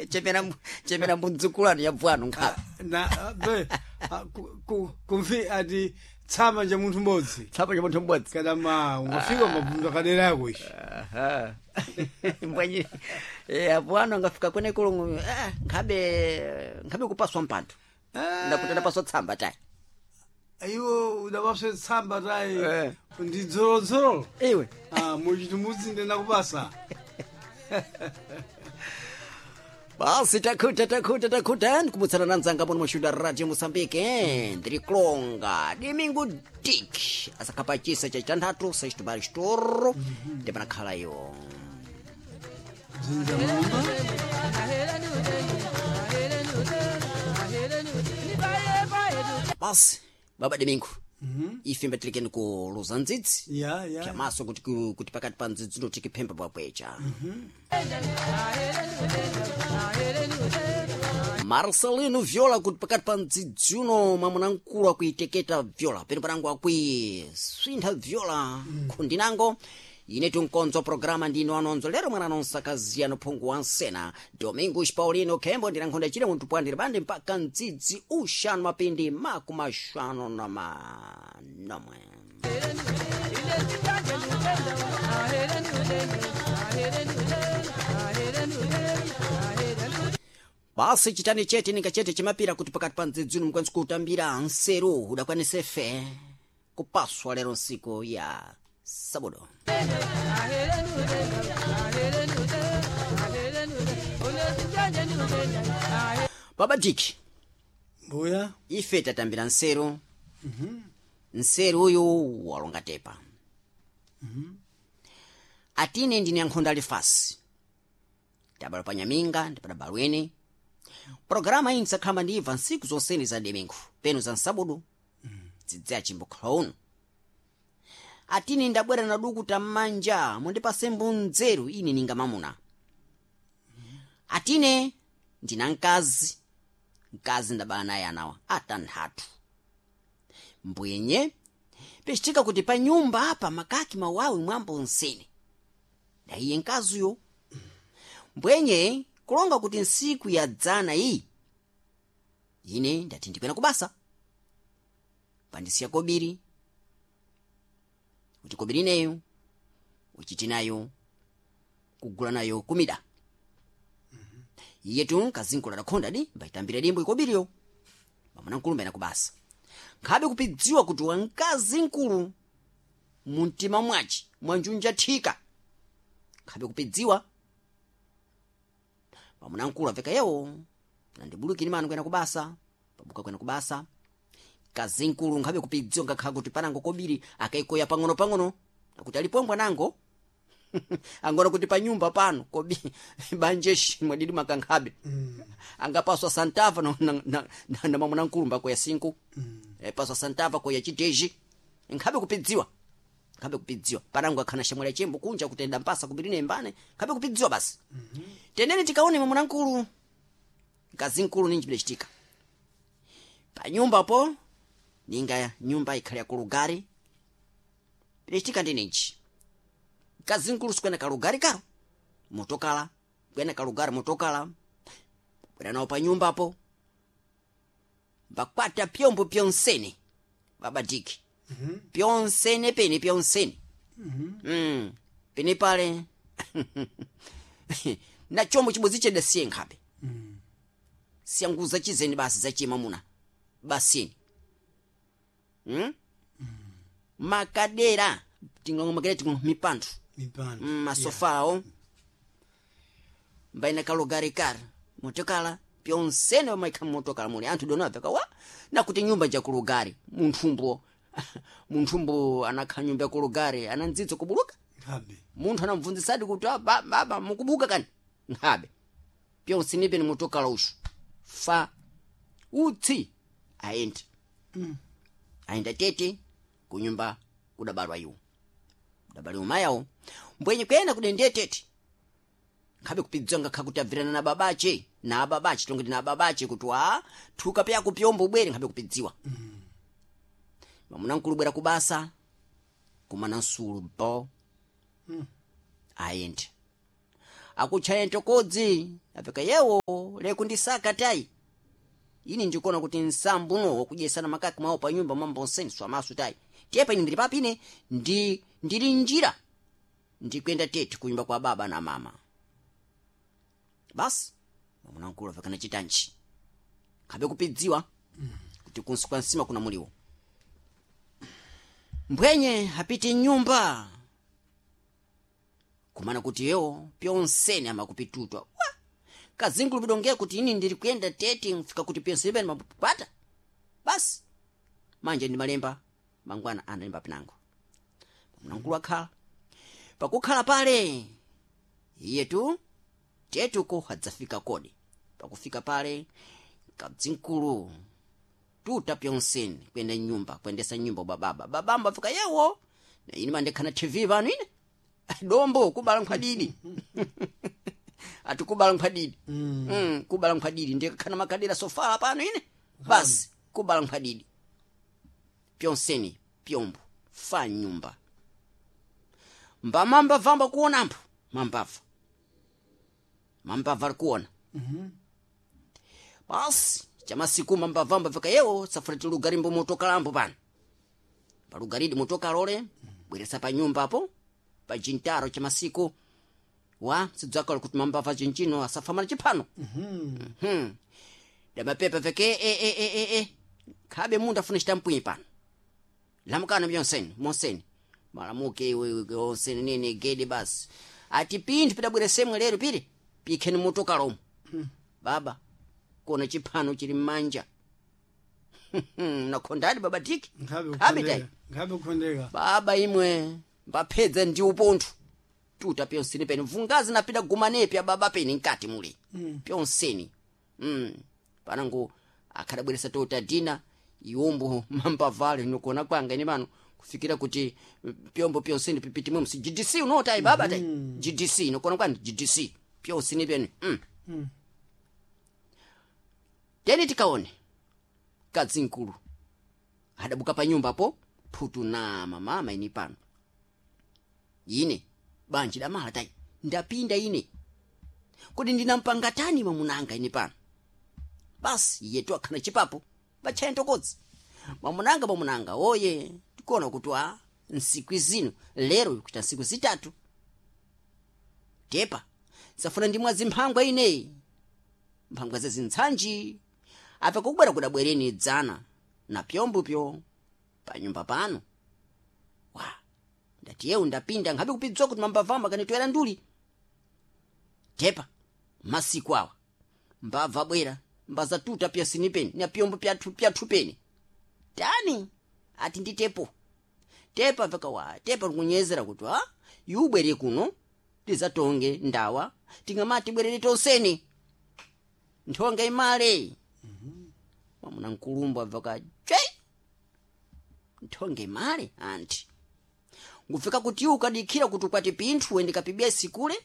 Chemera chemera mbudzukulani ya bwanu nkhabe. Na be kumfi ati tsama ja munthu mmodzi. Tsapa cha munthu mmodzi. Kada ma ungafika mabvunzo akadera yako ishi. Aha. Mbwanyi apo angafika kwene kulungu nkhabe nkhabe kupaswa mpando. Ndakuti ndapaswa tsamba tayi. Iwo udapaswe tsamba tayi. Eh. Ndi dzolodzolo. Iwe. Ah, muchitumudzi ndinakupasa. Basi takhuta takhuta takhuta ndikumutsana na nzanga muno muxuda radio Moçambique ndiri kulonga domingo dik asakhapachisa cha chitanthatu sexto xitoro ndipanakhala iwo. Dzinza mulumba. Basi baba domingo, ife mbatilekeni ku luza ndzidzi Ya ya. pyamaso kuti kuti pakati pa ndzidzi ndo tikiphemba bwabwecha. Marcelino Viola kuti pakati pa mdzidzi uno mwamuna mkulu akuiteketa Viola peno panango akuiswintha Viola khundinango ine tunkonzo programa ndino anonzo lero mwana nonsakaziya nophungu wa nsena Domingos Paulino Khembo ndinankhonda chile munthu pwandire bande mpaka mdzidzi uxanu mapindi makumi axanu na manomwe. Basi chitani chete ninga chete chimapira kuti pakati pa mdzidzi uno mukwanisa kutambira nseru udakwanise fe kupaswa lero nsiku ya sabodo. Baba Diki, Mbuya. ife tatambira nseru. Nseru uyu walonga tepa. Atine ndine yankhonda alifasi tabala pa nyaminga ndipada balweni programa iyi ndisakhamba ndibva ntsiku zonsene za domingo peno za nsabudu dzidzi achimbukhala uno. Atine ndabwera na duku tam'manja mundipase mbunzeru ine ninga mamuna. Atine ndina mkazi, mkazi ndabala naye anawa atanthatu. Mbwenye pecitika kuti pa nyumba apa makaki mawawi mwambo nsene ndaiye mkaziyo. Mbwenye kulonga kuti nsiku ya dzana iyi ine ndati ndikwena kubasa pandisiya kobiri kuti kobiri ineyo uchiti nayo kugula nayo kumida. Iye tu kazinkula dakhonda di mbaitambira dimbo ikobiriyo pamuna mkulu mbaina kubasa nkhabe kupidziwa kuti wamkazi mkulu mumtima mwaci mwanjunja thika nkhabe kupidziwa pamuna mkulu aveka yewo nandibulukini manu kwena kubasa pabuka kwena kubasa kazi mkulu nkhabe kupidziwa ngakhala kuti panango kobiri akaikoya pang'ono pang'ono akuti alipombwa nango angona kuti pa nyumba pano kobi banjeshi mwadidi makankhabe angapaswa santava na, na, na, na, na mamuna mkulu mbakoya sinku paswa santava koya chiteji nkhabe kupidziwa nkhabe kupidziwa panango akhana shamwali chembo kunja kutenda mpasa kubirine mbane nkhabe kupidziwa basi. Tenene tikaone mamuna mkulu mkazi mkulu ninji bidachitika pa nyumba po ninga nyumba ikhali ya kulugari bidachitika ndi ninji mkazi mkulu sikwena kalugari karo motokala kwena kalugari motokala bwera nawo pa nyumbapo mbakwata pyombo pyonsene baba diki pyonsene pene pyonsene pene pale na chombo chibodzi cheda siye nkhabe siyanguza chizeni basi zachimamuna basini Makadera ting'ongo makadera ting'ongo mipando Mipando. Masofawo mbaina kalugari kara motokala pyonsene pamaikha motokala muli anthu dona apeka wa nakuti nyumba njakulugari munthumbo munthumbo anakhala nyumba yakulugari anandzidza kubuluka. Nkhabe. Munthu anamubvunzisadi kuti "Ah, baba mukubuka kani nkhabe pyonsene pene motokala ushu fa utsi ayenda ayenda tete kunyumba kudabalwa iwo kudabaliwa mayawo mbwenye kuyenda kudendeye tete nkhabe kupidziwa ngakha kuti abvirana na babache na ababache tongoti na ababache kuti wa thuka pyako pyombo ubwere nkhabe kupidziwa. Mamuna mkulu bwera kubasa kumana nsulu bo ayende. Akutchaya ntokodzi apeka yewo lekundisaka tayi. Ini ndikuona kuti nsambuno wakudyesana makaki mwawo pa nyumba mwambonseni swamaso tayi. Tepa ine ndili papi ine ndili njira ndikuyenda tete kunyumba kwa baba na mama. Basi mwamuna mkulu apekana chitanchi khabe kupidziwa kuti kunsi kwa nsima kuna muliwo. Mbwenye apite nyumba kumana kuti yewo pyonsene amakupitutwa wa kazingulu pidongea kuti ini ndiri kuyenda tete mfika kuti pyonsene pene mapata. Basi manje ndi malemba mangwana analemba pinango. Mwamuna akhala pakukhala pale iye tu tetuko adzafika kodi. Pakufika pale kadzinkulu tuta pyonseni kuyenda nyumba kuyendesa nyumba bababa babamba afika yewo na ine mandekhana tv pano ine dombo kubala nkhwadidi ati kubala nkhwadidi kubala nkhwadidi ndikakhana makadera sofala pano ine basi kubala nkhwadidi pyonseni pyombo fa nyumba mbamamba vamba kuonampo mambava mambava ali kuona. Basi chamasiku mambavamba vika yewo safuna tilugarimbo motokalambo pano palugaridi motokalole bweresa pa nyumba apo pa jintaro chamasiku wa sidzakala kuti mambava chinchino asafamana chiphano. Damapepa veke e e e e e khabe mundu afuna chitampwinyi pano lamukana byonseni monseni malamuke iwe onseni nini gede basi ati pinthu pidabweresemwe lero pili pikheni motokalomo. Baba kuona chiphano chili mmanja nakhondadi baba tiki Nkhabe khabe tayi kukhondeka. Nkhabe kukhondeka. baba imwe mbapedza ndi upontho tuta pyonseni pene mvungazi napita gumanepi ababa pene nkati muli pyonseni panango akhadabweresa tota dina iwombo mambavale nikuona kwanga ine pano kufikira kuti pyombo pyonseni pipitimwe msi GDC unotayi baba tayi GDC nikuona kwani GDC pyonseni pene Teni tikaone kadzinkulu adabuka pa nyumba po phutu na mama ini pano ine banji damala tayi ndapinda ine kodi ndinampanga tani mamunanga ine pano. Basi iye tu akhana chipapo batchaya ntokodzi mamunanga mamunanga oye tikuona kuti a nsiku zino lero ikuita nsiku zitatu tepa safuna ndimwazi mphangwa ineyi mphangwa zazintsanji apa kubwera kudabwereni dzana na pyombopyo panyumba pano wa ndati yewu ndapinda nkhabe kupidzwa kuti mambavamba kanitoera nduli tepa masiku awa mbava bwera mbazatuta pyasini peni na pyombo pyathu pyathu peni tani ati nditepo tepa vakawa tepa likunyezera kuti a yubwere kuno tizatonge ndawa tingamati bwerere tonseni nthonge imale mwamuna nkulumbu abvaka chwe nthonge imale anti ngufika kuti iwe ukadikhira kuti ukwati pinthu wende kapibia sikule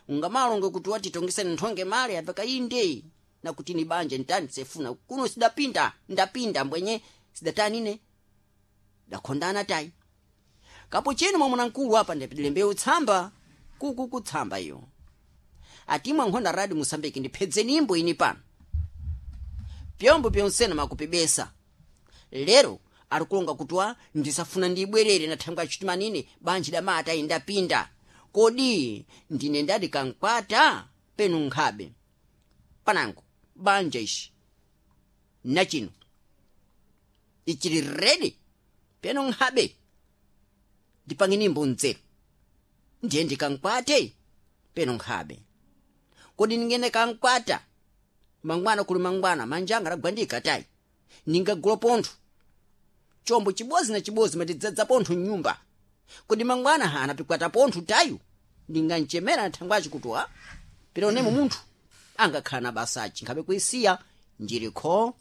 ungamalonge kuti watitongeseni nthonge male abvaka inde nakuti ni banja ntani sefuna kuno sidapinda ndapinda mbwenye sidatanine dakhondana tayi kapo chino mwamuna mkulu apa ndapidilembewu tsamba kuku kutsamba iyo atimwa nkhonda radi musambiki ndiphedzeni imbo ini pano pyombo pyonsena makupibesa lero arikulonga kutwa ndisafuna ndibwerere na thangwe achitimanine banji damata indapinda kodi ndine ndadi kankwata penu nkhabe panango banja ishi nachino ichili redi penu nkhabe ndipangeni mbonzero ndiye ndikankwate penu nkhabe kodi ndingene kankwata mangwana kuli mangwana manjanga lagwandika tayi ningagula pontho chombo chibozi na chibozi matidzadza pontho mnyumba kodi mangwana hana pikwata pontho tayu ndinganchemera na thangwachi kuti wa pera unemo munthu angakhala na basachi nkhabe kuisiya njirikho.